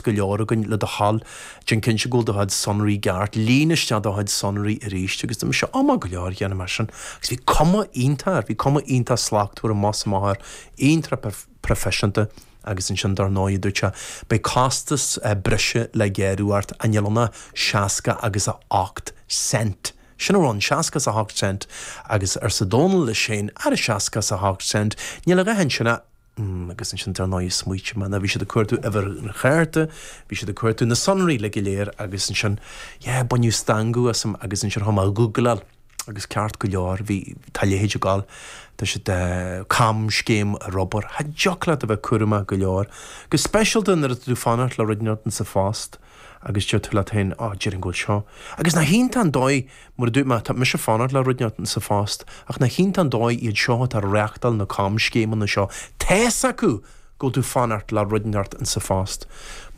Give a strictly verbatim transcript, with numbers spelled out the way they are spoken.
go leor againn le do thoil déan cinnte go bhfuil do chuid sonraí ceart líon isteach do chuid sonraí arís agus dúirt mise á maith go leor dhéanfaidh mé sin. Agus bhí cuma iontach air, bhí cuma iontach slachtmhar amach is amach air, iontach proifisiúnta agus ansin dar ndóigh dúirt sé beidh costas eh, breise le gearradh ort a níl ann ach seasca agus a ocht cent. Sin rud seasca is a hocht cent agus arsa Dónal leis féin ar a seasca is a hocht cent, níl a dhath ansin a Mm, agus ansin dar ndóigh smaointigh mé na bhí siad ag cuartú uimhir an chárta, bhí siad ag cuartú na sonraí le go léir agus ansin yeah, baineadh stangadh asam agus ansin chuaigh mé a ghoogláil agus ceart go leor bhí tá leithéid ag gabháil Tá siad uh, camscéim ar obair, Cha dtiocfadh leat a bheith cúramach go leor. Go speisialta nuair atá tú fanacht le rud inteacht sa phost agus deir tú leat féin á deir an ggóil seo. Agus nach hiontach an dóigh mar dúirt mé tá mise fanacht le rud inteacht sa phost, ach nach hiontach an dóigh iad seo atá reachtáil na camscéimeanna seo. Tá's acu go tú fanacht le rud inteacht sa phost. Mar